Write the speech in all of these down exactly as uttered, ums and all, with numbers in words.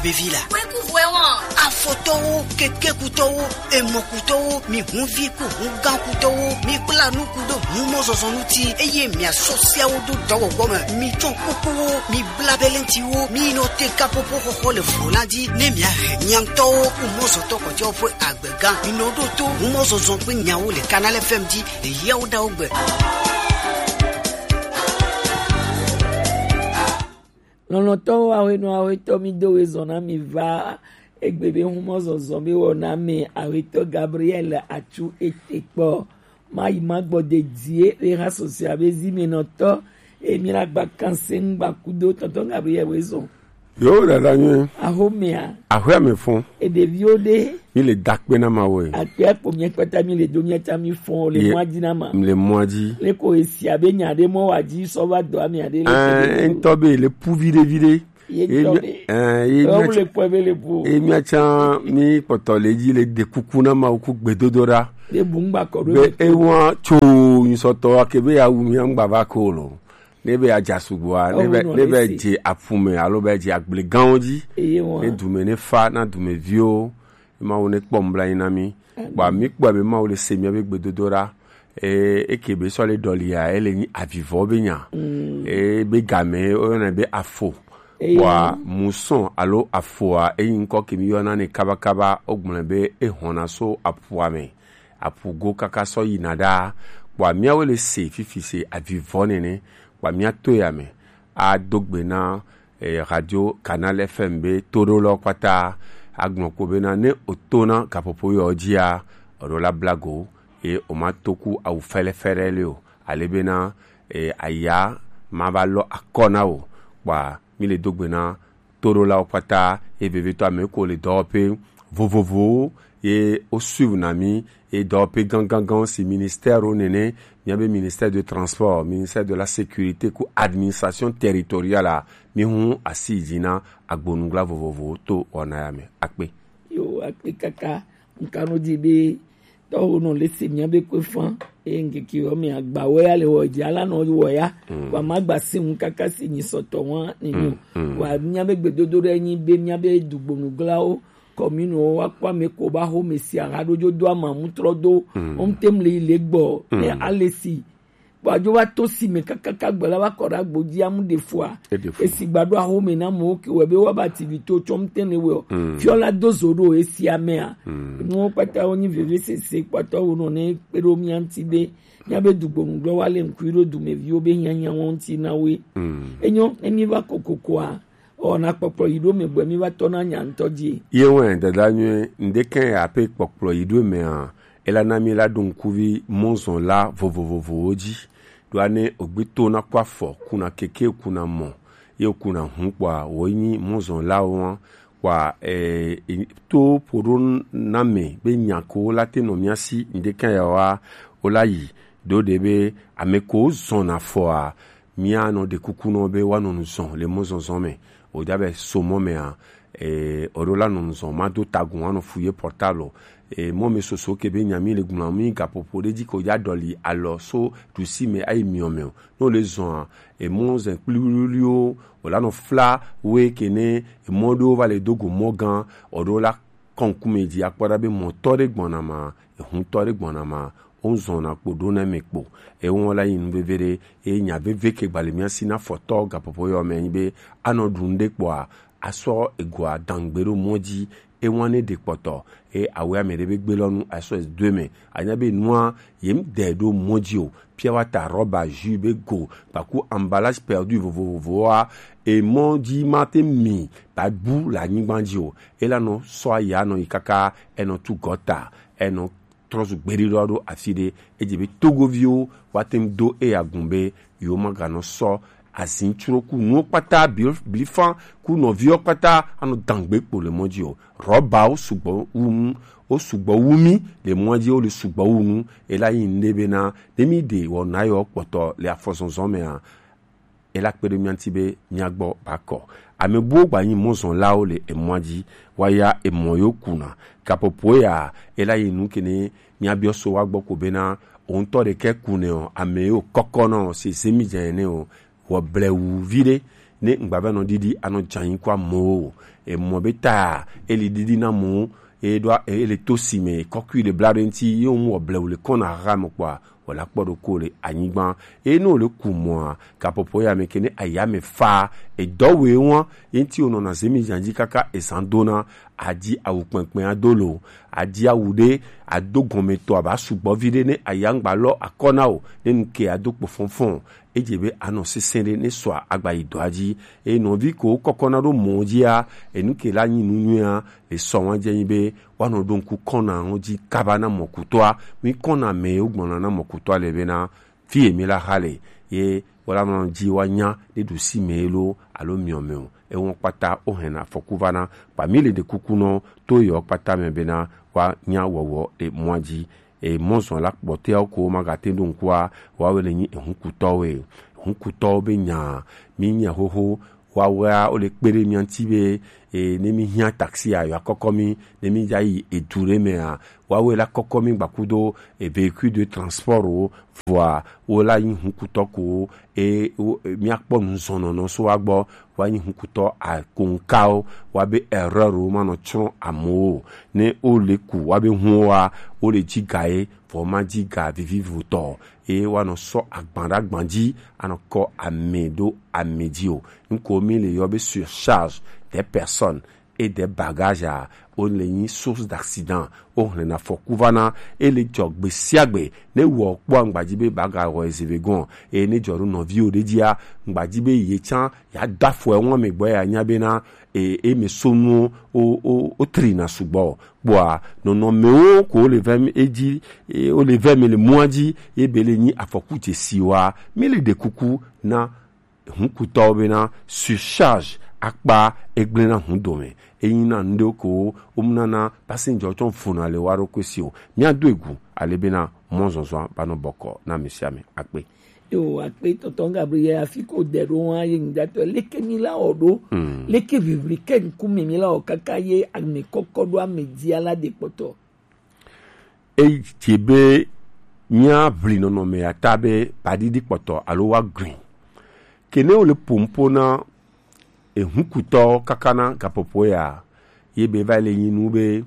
Vevi la. Wekuvuɛ wɔn. Afɔtɔwo, kekekutɔwo, emɔkutɔwo, mi hunvi ku hungankutɔwo, mi kpla nuku ɖo humɔzɔzɔ ŋuti, eye miasɔ siawo do dɔwɔwɔ me. Mi tsɔ kpokpowo, mi bla belentiwo, mi nɔ te kapopo xɔxɔ le vlo la dzi, ne miahe miaŋtɔwo ku mɔzɔtɔ kɔtɛwo ƒe agbega. Mi nɔ ɖo to humɔzɔzɔ ƒe nyawo le Canal F M dzi le yawo ɖawo gbe. Lɔlɔ̃tɔwo, awenɔ awe tɔ mi do we zɔn na mi va egbe be humɔ zɔzɔ be wɔ na mi awetɔ Gabriel atsu ete kpɔ. Ma yi ma gbɔ de die le ha sɔsia be zi me nɔ tɔ. E mi la gba kanse ŋgba kudo tɔntɔn Gabriel we zɔn. Yo, dada nyuie. Axomea. Axɔa me fɔn. Eɖeviwo ɖe. Mi le dakpe na Mawu. Akpe akpo miakpata mi le do miata mi fɔn le mɔa dzi na ma. Mi le mɔa dzi. Le ko esi abe nya ɖe mɔ wa dzi sɔ va dɔ ame aɖe le. Ɛɛ, ŋutɔ be le pu viɖe viɖe. Ye ŋutɔ be. Ɛɛ, ye ŋutɔ le kpɔ be le bu. Ye miatsa mi kpɔtɔ le dzi le de kuku na Mawu ku gbedodoɖa. Le bu ŋgba kɔ ɖo. Be ewa tso nyusɔtɔ ake be ya wu mi ŋgba va ko lo. Ne be adza sugbɔa, ne be ne be dze aƒu me alo be dze agbleganwo dzi. Eye wɔn. Ne dume ne fa na dumeviwo, Mawu ne kpɔ nublanui na mi. Amen. Kpɔa mi kpɔe be Mawu le se miabe gbedodoɖa. E eke be sɔ le ɖɔlia, ele nyi avivɔ be nya. Mm. E be game woyɔnɛ be afo. Eye kpɔa wɔn. Musɔn alo afoa eyi ŋkɔ ke mi yɔna ne kabakaba wogblɔe be ehɔna so aƒua me. Aƒu go kaka sɔ yina ɖaa. Kpɔa miawo le se fifi se avivɔ nene. Kpɔa mia to ya me ado gbe na eh, radio Canal F M be toɖolɔ kpata agblɔ ko bena ne o to na gaƒoƒo yɔ dzia, oɖo la blago ye o ma to ku awu fɛlɛfɛlɛ le o. Ale bena eh, aya ma va lɔ akɔ na o. Kpɔa mi le do gbe na toɖolawo kpata, ye vevitɔ ame ko le dɔwɔƒe vovovowo, ye wo suivre na mi, ye dɔwɔƒe ganganganwo si ministère wo nene, miabe ministère de transport, ministère de la sécurité ku administration territoriale a, mi hu asi yi dzi na agbonugla vovovowo to wɔna ya me. Akpe. Yo, akpe kaka. Nka no di be tɔwo nɔ le se miabe kpe fã, eye ŋkeke yɔ me agbawo ya le wɔ dzi, ala nɔ wɔ ya, wa ma gba se ŋu kaka si nyi sɔtɔ wa ni nyo. Wa miabe gbedodo ɖe nyi be miabe dugbonuglawo, kɔminiwo, wa kpɔ ame ko ba xo me si aha ɖo dzo do ama mu trɔ do, wo ŋte mli le gbɔ, ne ale si Kpɔ adzo va to si me kakaka gbe la va kɔ ɖe agbo dzi amu ɖe fua. Eɖe fu. Esi gba ɖo axome na amewo ke wɔ be woaba activité tsɔ ŋutɛ ne wɔe o. Fiɔ la do zo ɖo esi amea. Nuwo kpata wo nyi vevesese kpata wo nɔ ne kpe ɖo mía ŋuti be míabe dugbonugblɔ wa le ŋkui ɖo dumeviwo be hiahiã wɔn ŋuti na woe. Enyo ne mi va kokokoa, ɔ, na kpɔkplɔ yi ɖo me gbɔe mi va tɔ na nya ŋutɔ dzi. Ye wɛ dada nyuie ŋɖe kɛ ape kpɔkplɔ yi ɖo mea, ela na mi la ɖo ŋkuvi mɔzɔn la vovovovowo dzi. Ɖoa ne ogbe to na kɔ afɔ kuna keke kuna mɔ ye kuna hu kpɔa wo nyi mɔzɔn la wɔn kpɔa eh, to ƒo ɖo na me be nya ko la te nɔ mía si ŋɖe kɛ ya wa wo la yi ɖo ɖe be ame ko zɔn afɔa Míanɔ ɖe kuku nɔ be woanɔ nu zɔn le mɔzɔzɔ me. Wòda be so mɔ mea, e, oɖo la nɔ nu zɔn ma do tagun anɔ fu ye portable. E, mɔ me soso ke be nyami le gblɔ mi gaƒoƒo ɖe dzi ko ya ɖɔli alɔ so ɖusi me ayi miɔ me o. No le zɔn a, e mɔ zɛn kpliwliwliwo, o la nɔ fla we ke ne, e mɔ ɖewo va le do go mɔ gã, oɖo la kɔnkume dzi akpɔ ɖa be mɔtɔ ɖe gbɔna ma, ehuntɔ ɖe gbɔna ma, wozɔna kpo ɖo na eme kpo. Ewɔ la yi nu veve ɖe, eye nya veve ke gbali mía si na fɔtɔ gaƒoƒo yɔ me nyi be anɔ ɖu nu ɖe kpɔa, asɔ egoa dangbe ɖo mɔ dzi, ewa ne ɖe kpɔtɔ, eye awe ame ɖe be gbe lɔ nu asɔ do eme. Anya be nua yem de ɖo mɔ dzi o, pure water, rɔba, jus be go, kpaku emballage perdu vovovovoa, emɔ dzi ma te mi ba bu le anyigba dzi o. Ela nɔ sɔ aya nɔ yi kaka enɔ tu gɔta, enɔ trɔ zu gbeɖiɖɔ ɖo afi ɖe. Edze be Togoviwo wa te ŋu do eya gun be yewo ma ganɔ sɔ azin tsro ku nuwo kpata bli-, blifan ku nɔviwo kpata anɔ dangbe kpo le mɔ dzi o. Rɔbawo sugbɔ wu nu, wo sugbɔ wu mi le mɔa dzi, wo le sugbɔ wu nu. Ela yi nu ɖe bena ne mi ɖe wɔna yɔ kpɔtɔ le afɔzɔzɔ mea, ela kpe ɖe mía ŋuti be mía gbɔ ba kɔ. Ame buwo gba nyi mɔzɔnlawo le emɔa dzi, wa ya emɔ yo kuna. Gaƒoƒo ya ela yi nu ke ne mía biɔ so wa gbɔ ko bena o ŋutɔ ɖekɛ ku ne o, ame yo kɔkɔ nɔ o, se zemi dze ne o, wɔ blewu vi ɖe, ne ŋgbava nɔ ɖiɖi anɔ dza nyi kɔ amewo. Emɔ be ta ele ɖiɖi na amewo, e ɖo e le to si me kɔkui le bla ɖe ŋuti ye wo mu wɔ blewu le kɔna ha me kpɔa, wòle akpɔ ɖokɔ le anyigba. Eye ne wòle ku mɔa, gaƒoƒo ya me ke ne aya me fa, edɔ wɔe wɔn ye ŋuti wònɔna zemi dza dzi kaka ezan dona, adi awu kpɛnkpɛn ado lo, adi awu ɖe ado gɔme tɔ aba sugbɔ vi ɖe ne aya ŋgba lɔ akɔ na o, ne nu ke ado kpo fɔnfɔn. Edze be anɔ sesẽ ɖe ne sɔa agba yi dɔa dzi. Eye nɔvi ko kɔkɔna ɖo mɔ dzia, enu ke la nyi nu nyuia, le sɔ wɔn dze nyi be woanɔ ɖo ŋku kɔna wo dzi kaba na mɔkutɔa. Mi kɔna mɛ wo gbɔna na mɔkutɔa le bena fi emi la ha le ye wala nɔ dzi wa nya ɖe ɖusi mɛ lo alo miɔ mɛ o. Ewɔn kpata wo hɛn afɔku va na kpa mi le ɖe kuku nɔ to yɔ kpata mɛ bena wa nya wɔwɔ le mɔa dzi. E mɔzɔn la kpɔtɛawo ko ma gate ɖo ŋkua, wawe le nyi ehunkutɔwo e. Ehunkutɔwo be nya mi nya xoxo, wawea wo le kpe ɖe mia ŋuti be e ne mi hiã taxi a yɔ akɔkɔ mi, ne mi dza yi edu ɖe mea, wawe la kɔkɔ mi gbakudo e véhicule de transport o, vɔa wo la nyi hunkutɔ ko e wo- e, míakpɔ nuzɔnɔnɔ so wa gbɔ, wa nyi hunkutɔ akonkawo, wa be erreur wo manɔ tsrɔ̃ amewo o. Ne wo le ku wa be hun wa wo le dzi ga ye, vɔ ma dzi ga vivivotɔ ye wa nɔ sɔ agban ɖe agban dzi anɔ kɔ ame ɖo ame dzi o. Nuko mi le yɔ be surcharge des personnes et des bagages a, wo le nyi source d'accident, wo hlɛna afɔku va na, e le dzɔ gbe sia gbe, ne wɔ kpɔ ŋgbadzi be baga wɔ ezeve gɔn, e ne dzɔ ɖo nɔviwo ɖe dzia, ŋgbadzi be ye tsã ya da afɔ wɔn me gbɔ ya nya be na e e me so nuwo o o o trina sugbɔ kpɔa nɔnɔmewo ko le vɛ mi edzi e o le vɛ mi le mɔa dzi ye be le nyi afɔku dzesi wa mi le ɖe kuku na hunkutɔwo bena surcharge akpa egblẽ na hun dome. Eyi na nuɖewo ko womnana passenger tsɔ vona le wa ɖokui si o. Míado egu ale bena mɔzɔzɔa banɔ bɔkɔ na ame sia ame. Akpe. Yo, akpe tɔntɔn Gabriel, afi ko de ɖo wa ye ŋdatɔ leke mi la wɔ ɖo. Hmm. Leke vivri ke ŋkume mi la wɔ kaka ye ame kɔkɔ ɖo ame dzi ala de kpɔtɔ. Eyi dze be míaʋli nɔnɔme ya ta be baɖiɖi kpɔtɔ alo woaglɔ̃. Ke ne wole ƒom ƒo na ehunkutɔwo kaka na gaƒoƒo ya, ye be va le nyi nu be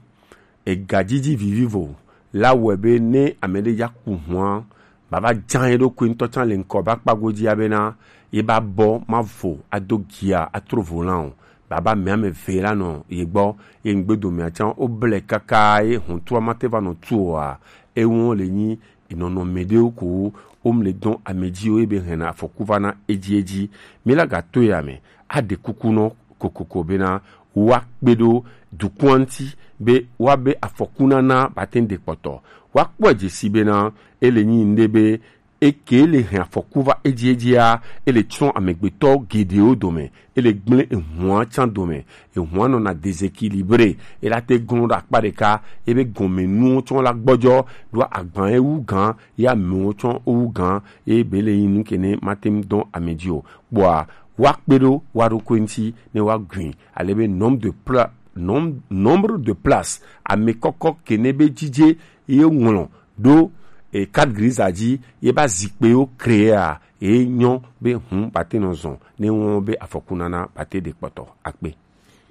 egadzidzi vivivo la wɔe be ne ame ɖe ya ku hua, baba dzã ye ɖokui ŋutɔ tsã le ŋkɔ ba kpa godzi ya bena ye ba bɔ ma vo ado gia atro volan o. Baba mea me ve la nɔ ye gbɔ, ye ŋgbedomea tsã wo ble kaka ye hɔntua mate va nɔ tu oa, ewo le nyi nɔnɔme ɖewo ko wo mle dɔn ame dzi wo ebe hɛna afɔku va na edzi edzi. Mi la gato ya me, aɖe kuku nɔ kokoko bena woakpe ɖo dukɔa ŋuti be woabe afɔku nana bate ŋu ɖe kpɔtɔ. Woakpɔe dze si bena ele nyi ŋɖe be eke le hɛn afɔku va edziedzia, ele tsrɔ̃ amegbetɔ geɖewo dome, ele gblẽ ehua tsã dome. Ehua nɔna déséquilibré, ela te glɔ̃ ɖe akpa ɖeka, ebe gɔme nuwo tsɔ la gbɔdzɔ ɖo agban ewu gã, ya amewo tsɔ owu gã, ebe le yin nu ke ne mate ŋu dɔn ame dzi o. Kpɔa, woakpe ɖo woa ɖokui ŋuti ne woagui, ale be nombre de pla-, nom-, nombre de place, ame kɔkɔ ke ne be dzidze ye ŋlɔ ɖo e carte grise dzi ye ba zikpewo créer a, e nyɔ be hun bate nɔ zɔn ne wɔn be afɔku nana bate ɖe kpɔtɔ akpe.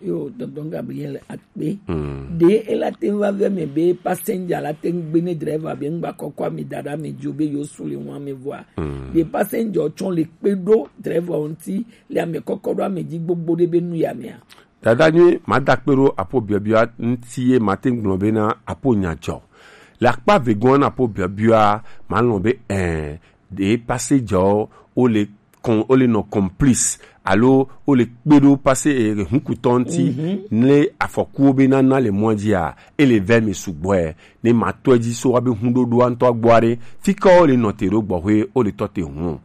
Yo, tonton Gabriel akpe. Hmm. Ɖe ela te ŋu va vɛ me be passenger la te ŋu gbe ne driver be ŋgba kɔkɔ ame da ɖe ame dzo be yo su le wɔn ame vɔa. Hmm. Ɖe passenger tsɔ le kpe ɖo driver ŋuti le ame kɔkɔ ɖo ame dzi gbogbo ɖe be nu ya mea. Dada nyui, mada kpe ɖo apo biɔbiɔ ŋuti ye mate ŋu gblɔ bena apo nya dzɔ. Le akpa vegɔa na apo biɔbiɔa, malɔ̃ be ɛ, ɖe passegerwo wole kɔn, wole nɔ complice alo wole kpe ɖo passe, eh, hunkutɔ ŋuti. Mhm. Ne afɔkuwo be nana le mɔa dzia, ele vɛ mi sugbɔe. Ne matɔe dzi so wa be huɖoɖoa ŋutɔ gbɔ aɖe, fi ke wole nɔ te ɖo gbɔxwe, wole tɔ te hun.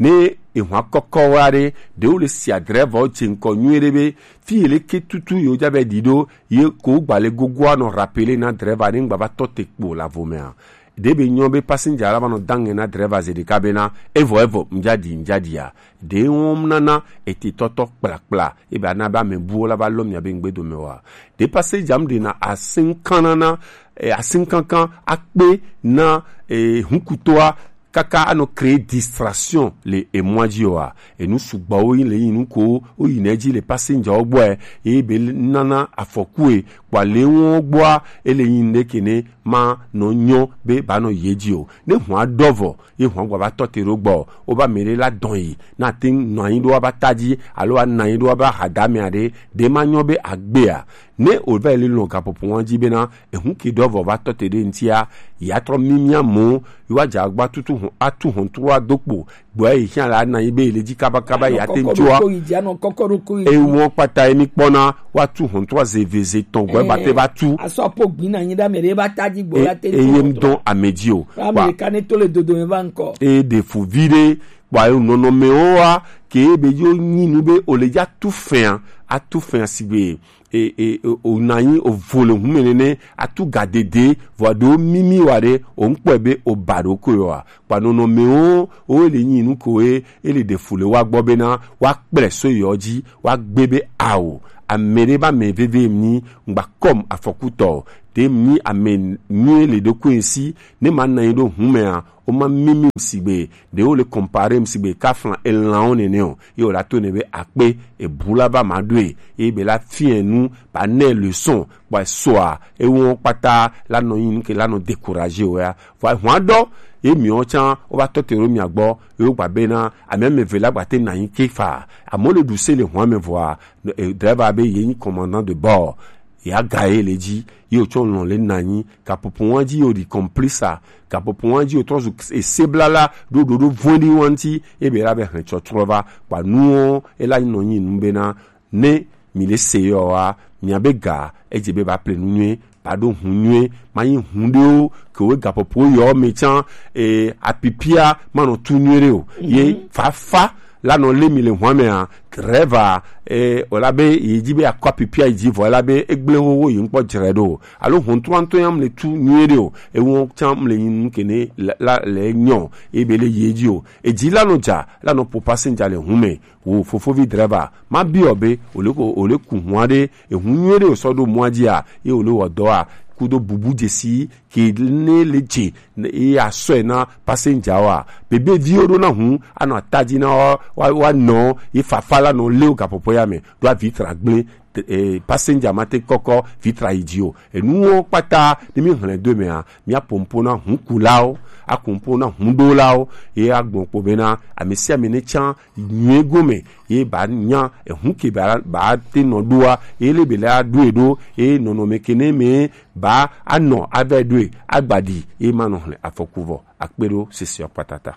Ne ehwa kɔkɔ wa ɖe, ɖewo le sia driver wo dze ŋkɔ nyuie ɖe be fi yi leke tutu yewo dza be ɖi ɖo ye ko gba le gogoa nɔ rappeler na driver ne ŋgba va tɔ te kpo le avo mea. Ɖe be nyɔ be passenger la va nɔ da ŋɛ na driver ze ɖeka be na evɔ evɔ ŋdza ɖi ŋdza ɖia. Ɖe wɔm nana ete tɔtɔ kplakpla ebe ana be ame buwo la va lɔ mia be ŋgbe dome wa. Ɖe passenger mu ɖe na asinkana na, eh, asinkankan akpe na, eh, hunkutɔa kaka anɔ créer distraction le emɔa dzi oa, enu sugbɔwo le yin nu ko wo yina edzi le passenger wo gbɔ, eye be nana afɔku e, kpɔ ale wo gbɔa, ele yin ɖe ke ne ma nɔ nyɔ be ba nɔ yi edzi o. Ne hɔn adɔ vɔ, ye hɔn gba va tɔ te ɖo gbɔ, wo ba mɛ ɖe la dɔn yi, na te nɔ anyi ɖo wa ba ta dzi, alo wa nɔ anyi ɖo wa ba ha da mɛ aɖe, ɖe ma nyɔ be agbea. Ne o va yi lɔn gaƒoƒo wa dzi bena, ehun ke ɖɔ vɔ va tɔ te ɖe ŋutia, ya trɔ mimia mo, yi wa dza gba tutu hɔn, atu hɔn tro ado kpo, gbɔ yi hiã la na yi be le dzi kaba kaba ya te ŋutua. Ewɔ kpata yi mi kpɔna, wa tu hɔn tro ze ve ze tɔn gbɔ ba te va tu. Asɔ po gbin na nyi ɖe ame ɖe ba ta dzi gbɔ la te ŋutua. Eye ŋdɔn ame dzi o. Ame ɖeka ne to le dodo me va ŋkɔ. E ɖe fu vi ɖe, kpɔ ayo nɔnɔme wo wa, ke be yo nyi nu be o le dza tu fɛa, atu fɛa sigbe. E, e, e, o na anyi o vo le hun mɛ nɛnɛ, atu ga dede, vɔ aɖewo mimi wa ɖe, o ŋkpɔe be o ba ɖo ko yɔ wa. Kpa nɔnɔmewo, o le nyi nu ko ye, e le ɖe fu le wa gbɔ bena, wa kplɛ so yɔ dzi, wa gbe be ao. Ame ɖe ba mɛ veve mi, ŋgba kɔm afɔkutɔ, ɖe mi ame nyuie le ɖo ko si, ne ma na anyi ɖo hun mɛa, o ma mimi sigbe, ɖe wo le comparer sigbe, ka flan elan wo nɛnɛ o. Ye wo la to ne be akpe, ebu la ba ma ɖoe, ye be la fiɛ nu, ba nɛ leçon, kpɔ soa, ewɔ kpata, la nɔ yin ke la nɔ décourager o ya. Vɔ hɔn adɔ, ye miɔ tsan, o ba tɔ te ɖo mia gbɔ, ye wo gba bena, ame ame ve la gba te na anyi ke fa. Amo le ɖu se le hɔn ame vɔa, e, driver be ye nyi commandant de bord. Ya ga ye le dzi, ye o tsɔ lɔn le na anyi, gaƒoƒo wa dzi yo ɖi complice a, gaƒoƒo wa dzi yo trɔ zu ese blala, ɖo ɖoɖo vɔ̃ɖi wa ŋuti, ebe la be hɛn tsɔtrɔ va, kpa nuwo, e la nɔ nyi nu bena, ne mi le se yɔ wa, mia be ga, edze be ba ple nu nyuie, ba ɖo hun nyuie, ma nyi hun ɖewo, ke wo gaƒoƒo yɔ me tsan, e, apipia, ma nɔ tu nyuie ɖe o, ye fafa, la nɔ lé mi le hɔn mɛa, driver, e, o la be, yi dzi be akɔ apipia yi dzi vɔ, la be, egble xoxo yi ŋkpɔ dzre ɖo. Alo hɔn trɔ ŋutɔ ya mle tu nyuie ɖe o. Ewɔ tsan mle nyi nu ke ne la, la, le nyɔ, e be le yi dzi o. Edzi la nɔ dza, la nɔ po passenger le hun mɛ. Wo fofovi driver, ma bi o be, o le ko, o le ku hɔn ɖe, ehun nyuie ɖe o sɔ ɖo mɔa dzi a, ye o le wɔ dɔ a, kudo bubu dzesi, ke ne le dze, ne ye asɔe na passenger wa. Bebe viwo ɖo na hun, anɔ atadzi na wa, wa, wa nɔ, ye fafa la nɔ lé wo gaƒoƒo ya me. Ɖo avi tra gblẽ, e, passenger ma te kɔkɔ vi tra yi dzi o. Enuwo kpata, ne mi hlẽ do mea, mia pompo na hun kulawo, akumpo na hun ɖolawo, ye agbɔn kpo bena, ame sia ame ne tsan nyuie gome, ye ba nya, ehun ke ba, ba te nɔ ɖoa, ye le be la ɖo e ɖo, ye nɔnɔme ke ne me ba anɔ avɛ ɖoe, agbaɖi, ye ma nɔ hlẽ afɔku vɔ, akpe ɖo sese ɔ kpatata.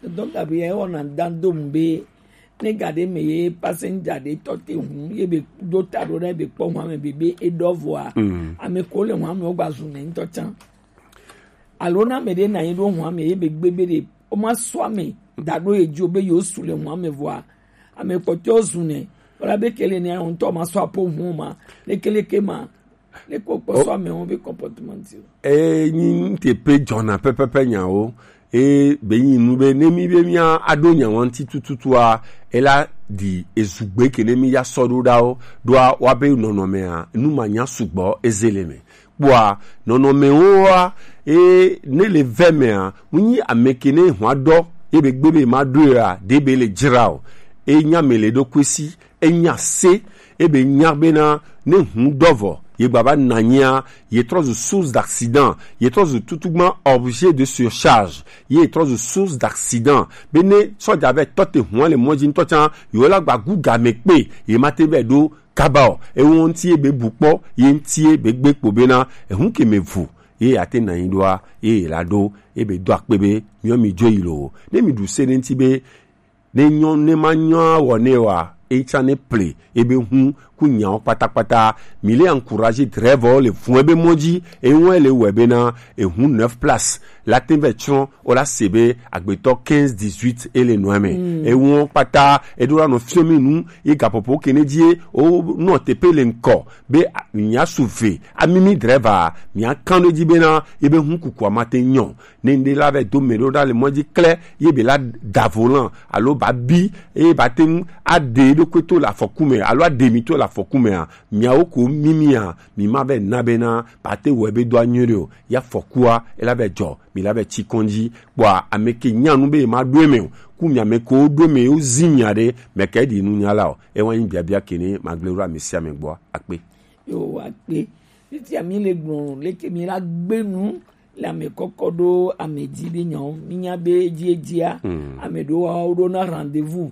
Donc, abi ye wɔna dan dom be, ne ga ɖe me ye passenger ɖe tɔ te hun, ye be ɖo ta ɖo ɖe be kpɔ hun ame be, be e ɖɔ vɔa. Mm. Ame ko le hun ame wo gba zu ne ŋutɔ tsan. Alo na ame ɖe na anyi ɖo hun ame ye be gbe be ɖe, o ma sɔ ame, da ɖo ye dzi o be yo su le hun ame vɔa. Ame kpɔtɔ zu ne, wala be kele ne ŋutɔ ma sɔ apo hun ma, lekeleke ma, ne ko kpɔ sɔ ame wo be comportement o. E nyi ŋte pe dzɔna pɛpɛpɛ nyawo, e be nyi nu be ne mi be mia aɖo nya wa ŋuti tututua, e la ɖi ezugbe ke ne mi ya sɔ ɖo ɖawo, ɖoa wa be nɔnɔmea, nu ma nya sugbɔ eze le me. Kpɔa, nɔnɔmewoa, e ne le vɛ mea, mu nyi ame ke ne hwa ɖɔ, ye be gbe be ma ɖoe a, ɖe be le dzra o. E nya me le ɖo kwesi, enya se, ebe nya bena, ne hun dɔ vɔ, ye gbava nanyia, ye trɔ zu source d'accident, ye trɔ zu tutugba objet de surcharge, ye trɔ zu source d'accident. Be ne sɔja vɛ tɔ te hun le mɔ dzi ŋutɔ tsan, yewo la gba gu game kpe, ye ma te vɛ ɖo kaba o. Ewo ŋuti ye be bu kpɔ, ye ŋuti ye be gbe kpo bena, ehun ke me vu, ye ate nanyi ɖoa, ye la ɖo, ebe do akpe be, miɔ mi dzo yi lo. Ne mi ɖu se ne ŋuti be, ne nyɔ, ne ma nyɔ awɔ ne wa, etsa ne ple, ebe hun, ku nyawo kpatakpata, mi le encourager driver le fun ebe mɔ dzi, eŋu le wɔ bena, ehun neuf place, la te vɛ tsrɔ̃, o la se be, agbetɔ quinze dix-huit ele nɔ me. Mm. Eŋu kpata, eɖo la nɔ fiɔ mi nu, ye gaƒoƒo ke ne dzi, o nɔ tepe le ŋkɔ, be, a, nya su ve, amimi driver, mia kan ɖo dzi bena, ebe hun kukua ma te nyɔ. Ne ŋɖe la vɛ do mɛ ɖo ɖa le mɔ dzi klɛ, ye be la da volant alo ba bi, ye ba te ŋu aɖe eɖokui to le afɔku me alo aɖe mi to le afɔku mɛa, miawo ko mimia, mi ma vɛ na be na pate wɛ be do anyuie ɖe o. Ya fɔkua, ela vɛ jɔ, mi la vɛ tsi kɔndzi. Kpɔa, ame ke nya nu be ma ɖo eme o. Ku mi ame ko ɖo eme o zi mia ɖe, mɛ ke ɖi nu nya la o. E wa nyi biabia ke ne ma gble ɖo ame sia ame gbɔ akpe. Yo, akpe. Fifia mi le gblɔ leke mi la gbe nu le ame kɔkɔ ɖo ame dzi be nyawo. Mi nya be edzi edzia, ame ɖewo wa wo ɖo na rendez-vous.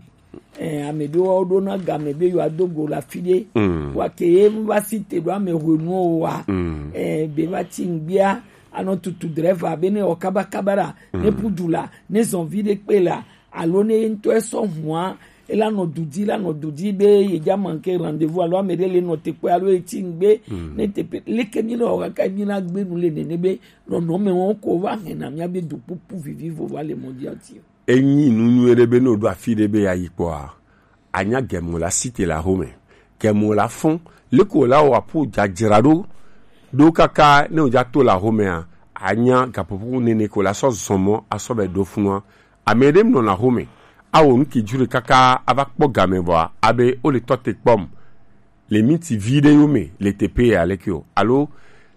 Eh, ame ɖewo wa wo ɖo na game be yewoa do go le afi ɖe. Wa ke ye va si te ɖo ame hwenuwo wa. Eh, be va tsi ŋgbia, anɔ tutu dreva be ne wɔ kaba kaba la, ne pu du la, ne zɔn vi ɖe kpe la, alo ne ye ŋutɔ esɔ hua, ela nɔ du dzi, la nɔ du dzi be ye dza manke rendez-vous alo ame ɖe le nɔ te kpe alo etsi ŋgbe, ne te pe leke mi nɔ wɔ kaka mi na gbe nu le nene be nɔnɔme wɔn ko va hɛn na mia be du kpukpu vivi vo va le mɔ dzi ati o. Enyi nu nyuie ɖe be ne o ɖo afi ɖe be ya yi kpɔa, anya gɛmɔ la si te la home. Gɛmɔ la fɔn, leko la wa po dzadzra ɖo, ɖo kaka ne o dza to la homea, anya gapopo nene ko la sɔ zɔn mɔ asɔ bɛ ɖo funua. Ame ɖe nɔ na home, awo nu ki jure kaka ava kpɔ game vɔa, abe o le tɔ te kpɔm. Le miti vi ɖe yo me le teƒe ya leke o, alo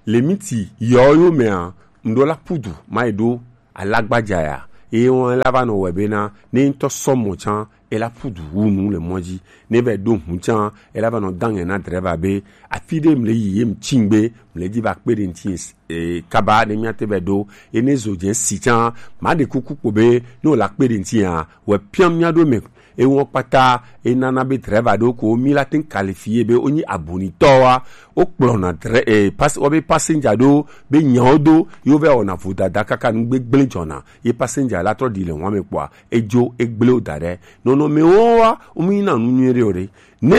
le miti yɔ yo mea, ŋɖo la pudu ma yi ɖo alagbaja ya, eye wɔn la va nɔ wɛ bena ne ŋutɔ sɔ mɔ tsã, ela pudu wu nu le mɔ dzi. Ne va yi ɖo ŋu tsã, ela va nɔ dangɛ na drɛva be afi ɖe mle yi ye mtsi ŋgbe, mle dzi va kpe ɖe ŋti e, kaba ne miate va yi ɖo. Ye ne zo dze si tsã, ma ɖe kuku kpo be ne o la kpe ɖe ŋti ya, wɛ piam mia ɖo me. Ewɔ kpata enana be drɛva ɖewo ko mi la te ŋu qualifié be wonyi abunitɔwoa, wokplɔna drɛ e pas wobe passenger ɖewo be nyawo do yewo va wɔna vodada kaka nu gbegblẽ dzɔna ye passenger la trɔ ɖi le wɔme kpɔa edzo egblẽ wo da ɖe. Nɔnɔmewo wa womu yina nu nyuie ɖe o ɖe. Ne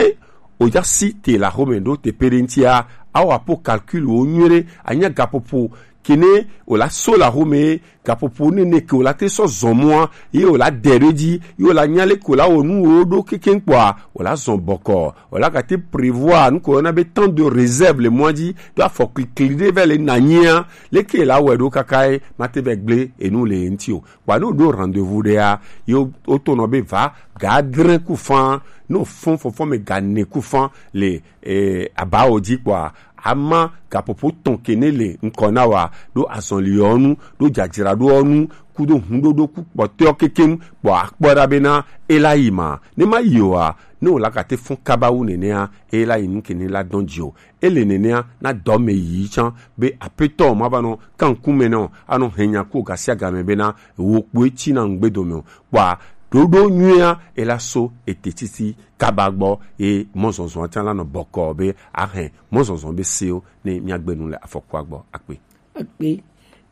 oja si te la xome ɖo teƒe ɖe ŋutia, awɔ apo calcul wo nyuie ɖe, anya gaƒoƒo kene o la so la xome gaƒoƒo nene ke o la te sɔ zɔn mɔa ye o la dɛ ɖo dzi ye o la nya le ko la wɔ nu wo ɖo kekeŋ kpɔa o la zɔn bɔkɔ o la gate prévoir nu ko yɔna be temps de réserve le mɔa dzi do afɔ klikli ɖe vɛ le na nyia leke la wɛ ɖo kaka ye ma te vɛ gble enu le ye ŋuti o kpɔa ne o ɖo rendez-vous ɖea ye o to nɔ be va ga adre ku fan ne o fɔn fɔfɔ me ga ne ku fan le eh, abawo dzi kpɔa ama gaƒoƒo tɔn ke ne le ŋkɔ na wa ɖo azɔli yɔ nu ɖo dzadzraɖo nu kudo huɖoɖo ku kpɔtɔ kekeŋ kpɔ akpɔ ɖa bena ela yi ma ne ma yi oa ne o la gate fɔn kaba wu nenea ela yi nu ke ne la dɔn dzi o ele nenea na dɔ me yi tsã be apetɔ ma va nɔ kanku me nɔ anɔ hɛnya ku gasiagame bena wo kpoe tsi na ŋgbe dome o kpɔa ɖoɖo nyuia ela so ete titi kaba gbɔ ye mɔzɔzɔ tsã la nɔ bɔkɔ be ahɛn mɔzɔzɔ be sewo ne míagbe nu le afɔkua gbɔ akpe. Akpe.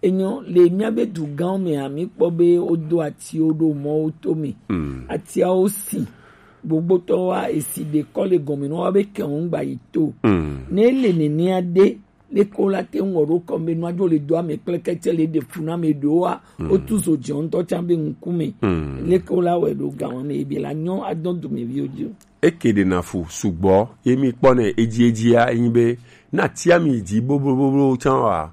Enyo le míabe dugãwo mea, míkpɔ be wodo atiwo ɖo mɔwo tome. Mm. Atiawo si. Gbogbotɔwoa esi ɖekɔ le gɔme nɔ woa be kɛwo ŋgba yi to. Mm. Ne ele nenea ɖe, leke wola te ŋu wɔ ɖo kɔm be nua dzo le do ame kple kɛtsɛ le ɖe fu na ame ɖewoa, mm, wotu zo dze ŋutɔ tsã be ŋkume. Mm. Leke wola wɔe ɖo gã wɔme ebe la nyɔ adɔ dumeviwo dzi o. Eke ɖena fu sugbɔ ye mi kpɔ ne edzi edzia enyi be na tia mi dzi bobloboblo tsã wa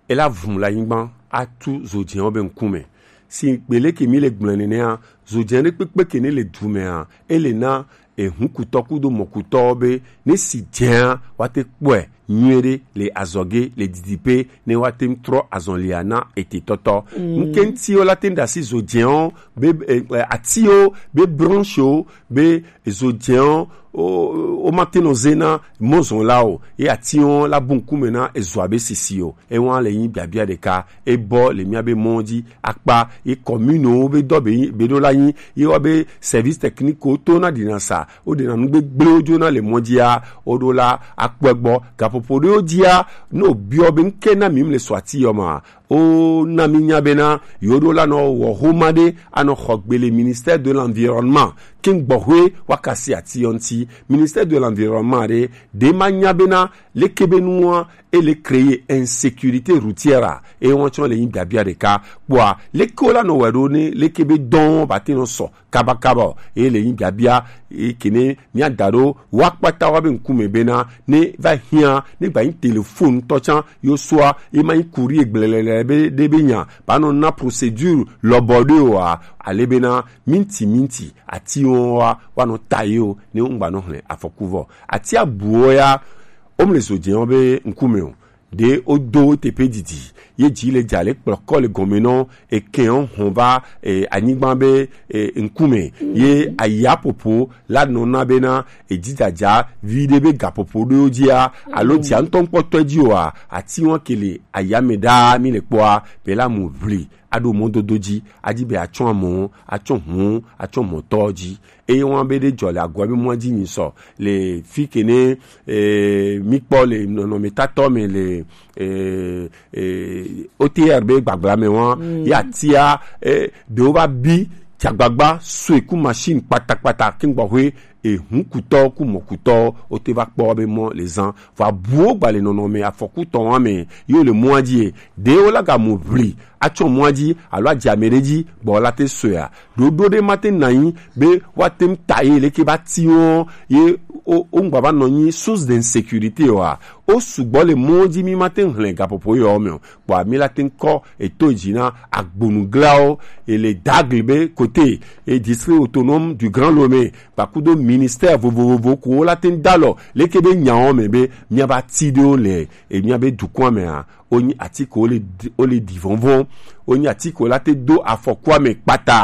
ela vum le anyigba atu zodzɛwo be ŋkume. Si gbele ke mi le gblẽ nenea, zodzɛ ɖe kpekpe ke ne le du mea, ele na ehunkutɔ kudo mɔkutɔ be ne si dzɛa woate kpɔe nyuie ɖe le azɔge le didiƒe ne woate ŋu trɔ azɔlia na etetɔtɔ. Mm. Ŋke ŋuti wola te ŋu ɖe asi zodzɛwo be eh, eh, atiwo be branchewo be zodzɛwo wo wo mate nɔ ze na mɔzɔnlawo ye atiwo la bu ŋkume na ezoa be sisi o. Ewa le nyi biabia ɖeka ebɔ le míabe mɔ dzi akpa ye kɔmunewo be dɔ be be ɖo la nyi ye wa be service technique wo to na ɖina sa wo ɖena nu gbegblẽwo dzona le mɔ dzia wo ɖo la akpɔe gbɔ gaƒoƒo ɖewo dzia ne o biɔ be ŋke na mi le sɔ ati yɔ ma o na mi nya bena yo ɖo la nɔ wɔ homa ɖe anɔ xɔ gbe le ministère de l'environnement ke gbɔxwe wa kasi ati yɔ ŋti ministère de l'environnement ɖe ɖe ma nya bena leke be nua ele créer insécurité routière a eye wɔn tsɔ le nyi biabia ɖeka kpɔa leke wo la nɔ wɛ ɖo ne leke be dɔn ba te nɔ sɔ kabakaba o eye le nyi biabia eye kene mia da ɖo wa kpata wa be ŋkume bena ne va hiã ne gba nyi téléphone tɔ tsã yo soa ye ma nyi courrier gblɛlɛlɛ ebe ɖe be nya ba nɔ na procédure lɔbɔ ɖe o a, ale bena minti minti ati wɔn wa wa nɔ ta ye o ne ŋgba nɔ hlɛ afɔku vɔ. Ati abuɔ ya, omle zo jɛ wɔn be ŋkume o, ɖe wodo teƒe didi ye dzi le dza le kplɔkɔ le gɔme nɔ ekɛn hɔn va e, anyigba be e, ŋkume ye ayapopo la nɔna bena edzidadza vi ɖe be gapopo ɖewo dzia alo dzia ŋutɔŋkpɔtɔe dzi oa, ati wɔn ke le ayame ɖaa mi le kpɔa be la mu ʋli aɖo mɔdodo dzi adzi be atsɔ amɔ atsɔ hu atsɔ mɔtɔ dzi. Eye wɔn be ɖe dzɔ le agua be mɔa dzi nyi sɔ le fi ke ne e, mi kpɔ le nɔnɔmetatɔ me le e, e, O T R be gbagbla me wɔn ya tia e, ɖewo va bi tsagbagba soe ku machine kpatakpata ke ŋgbɔ hoe ehunkutɔ ku mɔkutɔ wote va kpɔ be mɔ le zan vɔ abuwo gba le nɔnɔme afɔkutɔ wɔn me yewo le mɔa dzi e, ɖewo la ga mu ʋli atsɔ mɔa dzi alo adze ame ɖe dzi gbɔ la te soea ɖoɖo ɖe ma te na anyi be woate ŋu ta ye leke va ti wɔn ye wo wo ŋgba va nɔ anyi source d'insécurité oa, wo sugbɔ le mɔ dzi mi ma te ŋu hlɛ gaƒoƒo yɔ me o. Kpɔa mi la te ŋu kɔ eto dzi na agbonuglawo ele dagli be kote e district autonome du Grand Lomé kpakudo ministère vovovo ko wo la te ŋu da lɔ leke be nyawo me be mia va ti ɖe wo le e mia be dukɔa mea wonyi ati ko wo le di- wo le di vɔnvɔn wonyi ati ko la te do afɔkua me kpata